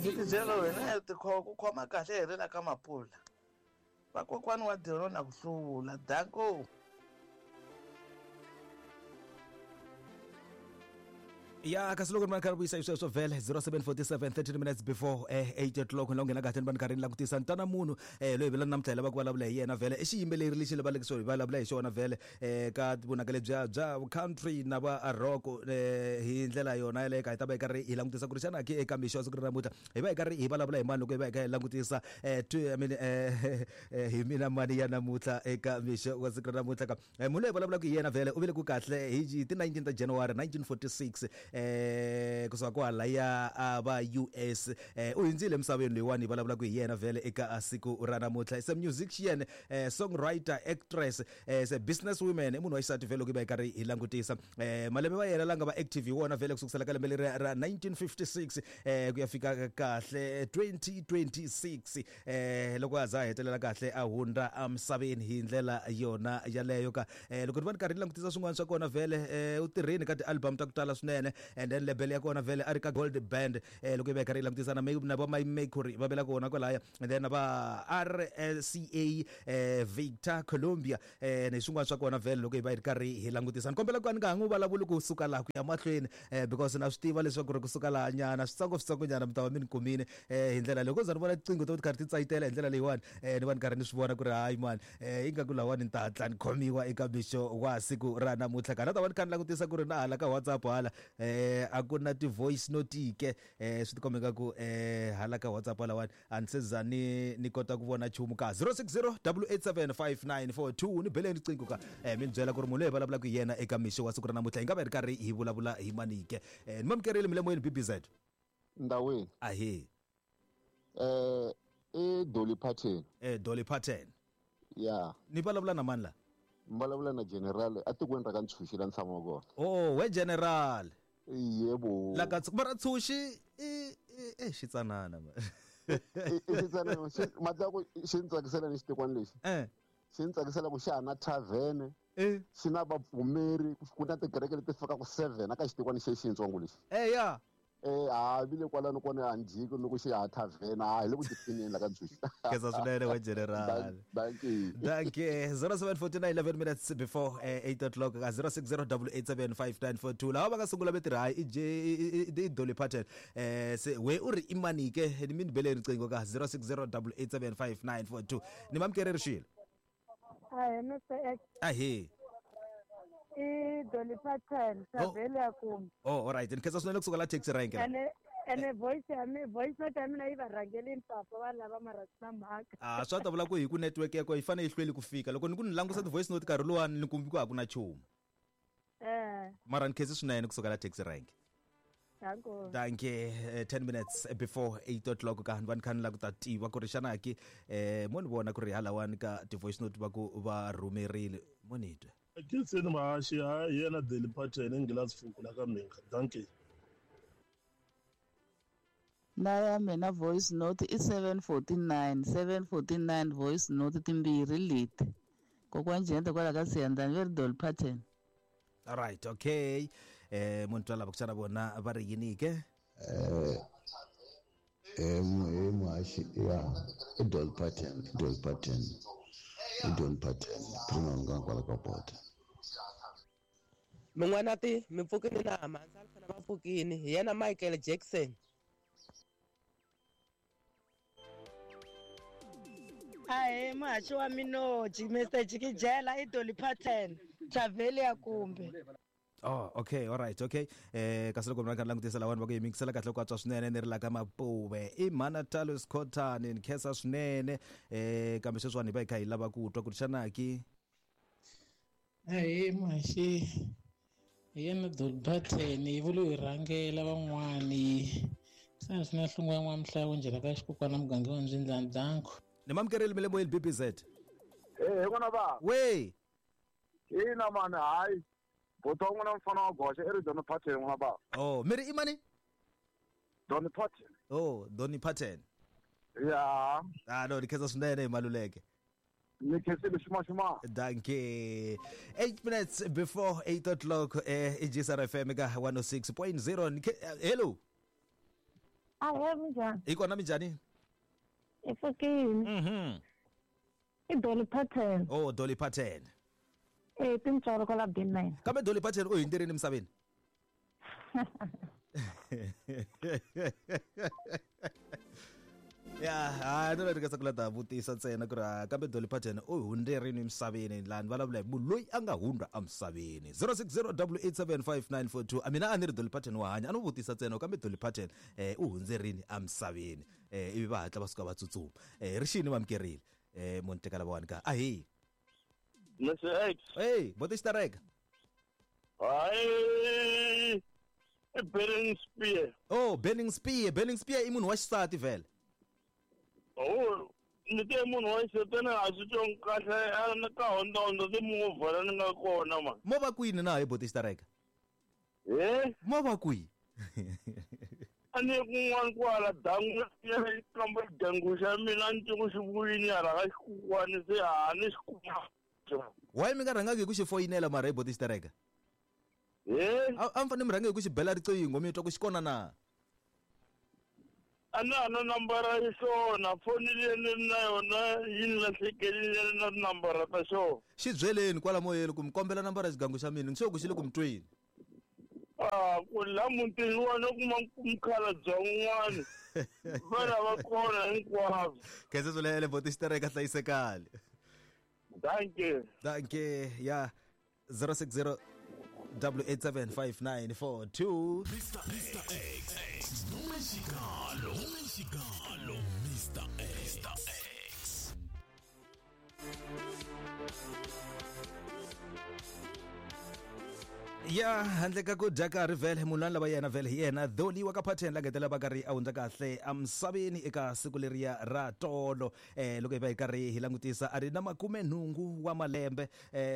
Mphikizelo wena ku khoma kahle hi ri la ka Mapula. Vakokwani wa Diron na ku hlula. Danko. Ya kasi loko ni va ni karhi vuyisa hi sweswo vhele 0747 13 minutes before 8 o'clock la u nghena kahle ni va ni karhi ni langutisa ni twana munhu loyi vela namuntlha hi lava ku vulavula hi yena vhele i xiyimbeleri lexi lavalekisiwa hi vulavula hi xona vhele ka vunanga lebyiya bya country na va rock hi ndlela yona yaleyo ka hi ta va hi karhi hi langutisa ku ri xana ke eka mixo wa siku ra namuntlha hi va hi karhi hi vulavula hi mani loko hi va hi kha hi langutisa I mean, hi mina mani ya namuntlha eka mixo wa siku ra namuntlha ka munhu loyi hi vulavulaka hi yena vhele u vile ku kahle hi ti 19 ta January 1946 kusuka kwalaya a va US u hundzile emisaveni loyiwani hi vulavulaka hi yena vhele eka siku ra namuntlha. Is a musician, songwriter, actress, is a business woman, i munhu wa xisati vhele loko hi va hi karhi hi langutisa malembe va yena la nga va active hi wona vhele kusukusela ka lembe leri ra 1956 ku ya fika kahle 2026 loko a za a hetelela kahle a hundza emisaveni hi ndlela yona yaleyo ka loko ni va ni karhi ni langutisa swin'wana swa kona vhele u tirhini ka ti-album ta ku tala swinene, and then label ya kona vhele a ri ka Gold Band loko yi va yi karhi yi langutisa na na va Mercury va vela kona kwalaya, and then na va RCA Victor Columbia ni swin'wana swa kona vhele loko hi va hi ri karhi hi langutisa. Ni kombela ku ka ni nga ha n'wi vulavuli kusuka laha ku ya mahlweni because na swi tiva leswaku ri kusuka laha nyana switsongo switsongo nyana mi ta va mi ni kumile hi ndlela leyi. Loko za ni vona tiqingho to ti karhi ti tsayitela hi ndlela leyiwani ni va ni karhi ni swi vona ku ri hayi mani ingaku lawani ni ta hatla ni khomiwa eka mixo wa siku ra namuntlha. Ka na ta va ni kha ni langutisa ku ri na hala ka WhatsApp hala a ku na ti-voice note ke swi tikomba ingaku hala ka WhatsApp halawani a ni se za ni ni kota ku vona nchumu ka 060 887 5942 ni beleni riqingho ka mi ni byela ku ri munhu loyi hi vulavulaka hi yena eka mixo wa siku ra namuntlha hi nga va hi ri karhi hi vulavula hi manike ni mamukerile mi le moyeni BBZ. Ndawini. Ahee. I Dolly Parton. Dolly Parton. Ya. Ni vulavula na mani la? Ni vulavula na General atikweni ra ka Ntshuxi la ni tshamaka kona. Oh, we General. Yebo. La ka mara Ntshuxi i i xitsanana ma. I xitsanana matla ku xi ni tsakisela ni xitikwana lexi. Xi ni tsakisela ku xa ha na tavern. Xi na vapfumeri ku na tikereke leti fikaka 7 aka xitikwana xexintsongo lexi. Ya. Ha vile kwalano kona a ni jiki loko xi ha tavern ha hi le ku tiphineni la ka Ntshuxi. Khensa swinene we General. Dankie. Dankie. 0749 11 minutes before 8 o'clock ka 060 887 5942 lava va nga sungula va tirha hayi i J i Dolly Parton se we u ri i mani ke ni mi ni bele riqingho ka 060 887 5942 ni mamukeri rixile. Ahee Mr X. Ahee. I Dolly Parton, Savelia Kumbe. Oh, all right. Ni khensa swinene kusuka la taxi rank. Ene ene voice ya mi voice note ya mina yi va rhangelini papa va lava mara swi na mhaka. Ah, swa ta vula ku hi ku network ya ko yi fanele yi hlweli ku fika. Loko ni ku ni langusa ti voice note nkarhi luwani ni kumbi ku a ku na nchumu. Mara ni khensi swinene kusuka la taxi rank. Danko. Danke. 10 minutes before 8 o'clock ka ni va ni kha ni lava ku ta tiva ku ri xana ki mo ni vona ku ri halawani ka ti-voice note va ku va rhumerile mo ni twa. Akhinseni Mahaxi ha hi yena Dolly Parton Nghilazi Fuku la ka Mhinga. Dankie. Na ya mina voice note i 749 749 voice note timbirhi leti. Kokwani Jende kwala ka Siyandhani ve ri Dolly Parton. All right, okay. Munhu twa lava ku xana vona va ri yini ke? Muhaxi ya i Dolly Parton, i Dolly Parton, i Dolly Parton, Premium nga kwala ka bota. Min'wana ti mi pfukini na mhandzi a fana va pfukini hi yena Michael Jackson. Ahee muhaxi wa minoji Mr Jikijela i Dolly Parton Travelia kumbe. Oh, okay, all right, okay. Kasi loko mina langutisa lawani va ku yimingisela kahle ku antswa swinene ni ri la ka Mapuve. I mhana Talos Cotton ni khensa swinene. Kambe sweswiwani hi va hi kha hi lava ku twa ku ri xana ki Ahee muhaxi hi yena Dolly Parton yi vule hi rhangela van'wani. Se swi na hlungu ya n'wamhlawu njhela ka xikokwana muganga wa Ndzindlani Danko. Ni mamukerile mi le moyeni BBZ. Hi n'wana va. We. Ina mani hayi. Bota wa n'wina mfana wa goxa i ri Dolly Parton n'wana va. Oh, mi ri i mani? Dolly Parton. Oh, Dolly Parton. Ya. Ah no, ni khensa swinene hi Maluleke. Ni khensile xuma xuma. Dankie. 8 minutes before 8 o'clock i GSR FM ka 106.0. Hello. Ahee, minjhani? Hi kona, minjhani? Hi pfukile. I Dolly Parton. Oh, Dolly Parton. Eh, tintswalo kwala B9. Kambe Dolly Parton u hundzirini emisaveni? Ya, hayi, no ringesa ku la ta vutisa ntsena ku ri kambe Dolly Parton u hundzerini emisaveni? Laha ni vulavula hi munhu loyi a nga hundza emisaveni. 060 875 a mina a ni ri Dolly Parton wa hanya. A no vutisa ntsena, kambe Dolly Parton u hundzerini emisaveni? Ivi va hatla va suka va tsutsuma. Ri xini va amukerile munhu teka lavawani ka ahi. Mr. X. Hey, boti xitereka. Hayi, i Burning Spear. Oh, Burning Spear. Burning Spear i munhu wa xisati vhele? Oh, ni te munhu wa xisati, ni a swi twanga kahle a ni ka hondzahondza timovha la ni nga kona ma. Mo va kwini na hi, boti xitereka? He? Mo va kwihi? A ni ye kun'wana kwala dangu ya kambe xigangu xa mina a ni twi ku xi vuyini hala ka xikukwani, se a ni xi kuma. Why mi nga rhangaki hi ku xi foyinela mara hi, boti xitereka? He? A mi fanele mi rhange hi ku xi bela riqingho mi twa ku xi kona na? A na ha na nambara ya xona, foni leyi ni ri na yona yi ni lahlekerile na tinambara ta xona. Xi byeleni kwala moyeni ku mi kombela nambara ya xigangu xa mina, ni sure ku xi le ku mi tweni. A ku la mutini wa no kuma mukhalabye un'wana va lava kona hinkwavo. Khensa swinene, boti xitereka, hlayisekani. Dankie. Dankie. Ya, 060 8875942. Mr. X. Mexicano. Mexicano. Mr. X. Mr. X. Ya, handle ka ku dya karhi vhele, munhu lani lava yena vhele hi yena Dolly wa ka Pattern, la ngetela va karhi a hundza kahle emisaveni eka siku leriya ra tolo. Loko hi va hi karhi hi langutisa, a ri na 80 wa malembe.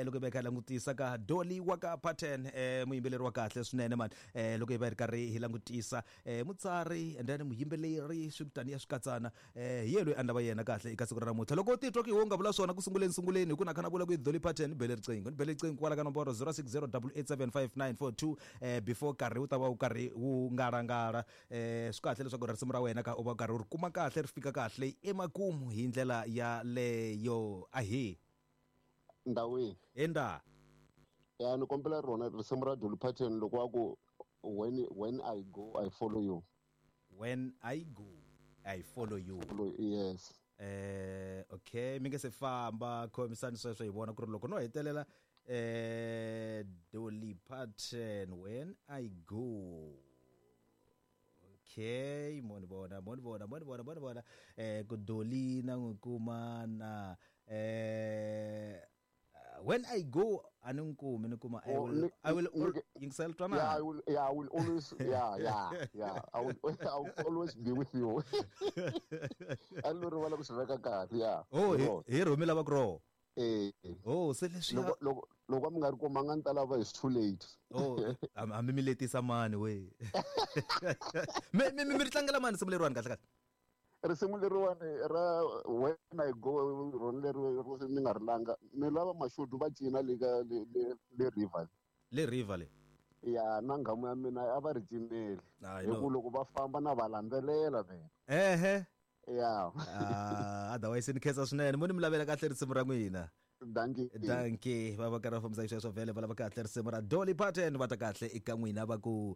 Loko hi va hi kha hi langutisa ka Dolly wa ka Pattern, muyimbeleri wa kahle swinene mani. Loko hi va hi ri karhi hi langutisa, mutsari and then muyimbeleri, swi kutani ya swi katsana. Hi ye loyi a ni lava yena kahle eka siku ra namuntlha. Loko u titwa ku hi wo nga vula swona ku sunguleni sunguleni, hi ku na kha na vula ku i Dolly Parton, ni bele riqingho, ni bele riqingho kwala ka nomboro 060 875 942 before nkarhi wu ta va wu karhi wu ngalangala. Swi kahle leswaku risimu ra wena ka u va karhi u ri kuma kahle, ri fika kahle emakumu hi ndlela yaleyo. Ahi. Ndawini. Enda. Ya, ni kombela rona risimu ra Dolly Parton loko wa ku when I go I follow you. When I go I follow you. Follow, yes. Okay, mi nge se famba, khomisani sweswo hi vona ku ri loko no hetelela. Dolly Parton, When I Go. Okay, mo ni vona, mo ni vona, mo ni vona, mo ni vona. Ku Dolly na n'wi kuma na When I Go a ni n'wi kumi, ni kuma I Oh, will I will yingisela twanana. Yeah, I will, yeah, I will always, yeah. I will always be with you. A ni lo rivala ku swi veka kahle, yeah. Oh, Hi rona. Hi rhumi lava ku roho. Eh. Oh, se leswi Loko mi nga ri kumanga ni ta lava is too late. Oh, hambi mi letisa mani we. Mi ri tlangela mani risimu leriwani kahle kahle? Risimu leriwani ra When I Go, rona leri ro ni nga ri langa, ni lava mashudu va cina le ka le river. Le river le. Ya, na nghamu ya mina a va ri cineli. Hayi, Hi no. ku loko va famba na va landzelela mina. Ehe. Ya. Ah, otherwise ni khensa swinene, mo ni mi lavela kahle risimu ra n'wina. Dankie. Dankie. Va va karhi va fambisa sweswo vhele, va lava kahle risimu ra Dolly Parton, va ta kahle eka n'wina va ku